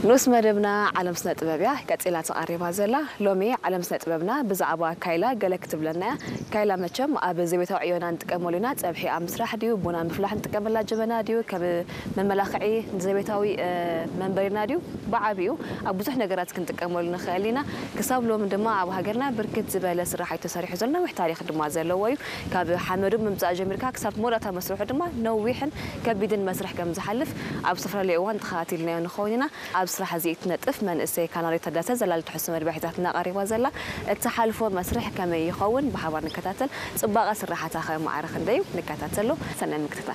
ንኡስ መደብና ዓለም ስነ ጥበብ እያ ቀጺላ ተቓሪባ ዘላ። ሎሚ ዓለም ስነ ጥበብና ብዛዕባ ካይላ ገለ ክትብለና እያ። ካይላ መቸም ኣብ ዘቤታዊ ዕዮና ንጥቀመሉ ኢና። ጸብሒ ኣብ ምስራሕ ድዩ፣ ቡና ምፍላሕ ንጥቀመላ ጀበና ድዩ፣ ከም መመላኽዒ ዘቤታዊ መንበሪና ድዩ፣ ብዓቢኡ ኣብ ብዙሕ ነገራት ክንጥቀመሉ ንኽእል ኢና። ክሳብ ሎሚ ድማ ኣብ ሃገርና ብርክት ዝበለ ስራሕ እዩ ተሰሪሑ ዘሎ። ነዊሕ ታሪኽ ድማ ዘለዎ እዩ። ካብ ሓመዱ ምምፃእ ጀሚርካ ክሳብ መወዳእታ መስርሑ ድማ ነዊሕን ከቢድን መስርሕ ከም ዝሓልፍ ኣብ ዝተፈላለዩ እዋን ተኸታቲልናዮ ንኸውን ኢና። ኣብ ስራሕ እዚ እትነጥፍ መንእሰይ ካናሪ ታደሰ ዘላሊ ትሕዝቶ መደብ ሒዛትና ቀሪባ ዘላ። እትሓልፎ መስርሕ ከመይ ይኸውን ብሓባር ንከታተል። ጽባቐ ስራሓታ ከ ማዕረ ክንደይ እዩ? ንከታተሎ። ሰናይ ምክትታል።